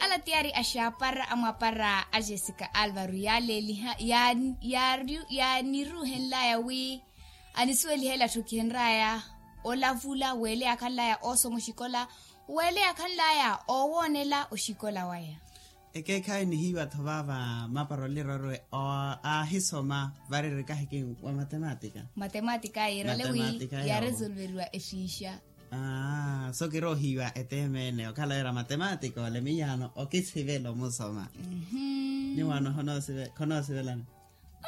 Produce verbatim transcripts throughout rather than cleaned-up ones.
Ala tiyari axaapara amwapara a jessica alvaro yaaleeliha yaaniruuhenlaya wi anisuwelihela atthukihenraya olavula weele yaakhanlaya oosoma oxikola weele yaakhanlaya oowoonela oxikola waya. Ekeekhayi nihiiwa-tho vaava mapara olira ori aahisoma vari eri kahiki wa matematika. Matematika yiirale wi yaaresolveriwa exiixa. Aa so kiroohiiwa eteema ene okhala wira matematika ole miyaano okisivela omusoma. Ni waano khonoosivelani?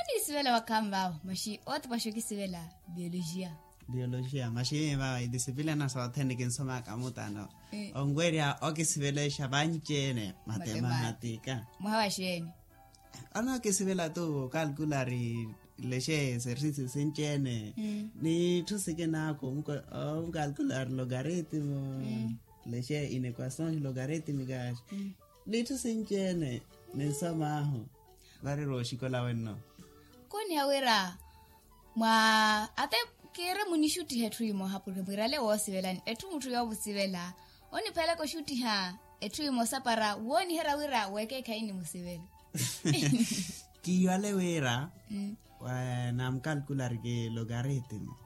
Oniisivela wakhaani vaavo maxi ootipaxa okisivela biologia. Biologia maxi miyo vaavo idisipilina sothene kinsomaka mutano onwerya okisivelexa vanci-ene. Matematika. Mwaha wa xeeni? Ano okisivela tu okalkulari lexe exercício sinci-ene. N'itthu sikinaaku omukalkulari logaritmo lexe inequações logarítmicas. N'itthu sinci-ene ninsom'ahu. Variri oxikola wenno. Koniha wira mwa ate kiire munixuttiha etthu imooha purke mwirale woosivelani etthu mutthu yoomusivela oniphelaka oxuttiha etthu imoosa para wooniherya wira wekeekhayi nimusivela. Kiiwale wira namukalkulari ki logaritmo.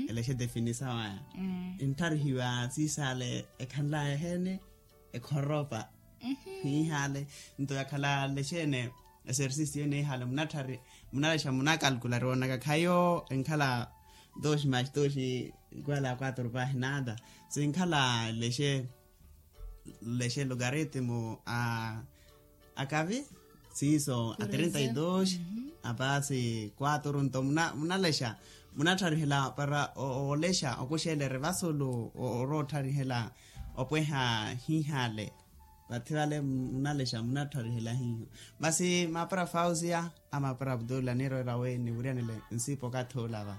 Elexe definisaw aya. Enttharihiwa siisaale ekhanlaya eheeni ekhoropa. Hiihaale nto yakhala lexeene exercício niihaale munatthari munalexa munakalkulari woonaka khayo enkhala dos mais dos igual a quatro pahi nada. Sinkhala lexe lexe logaritmo a akavi siiso a treinta y dos apasi quatro nto munalexa munatharihela para oolexa okuxeela erivasulu oroottharihela opweha hiihaale. Vathi vale munalexa munatharihela hiiho. Masi mapara fausia a mapara abdullah niirowera wi nivuryanile nsipa okathi olava.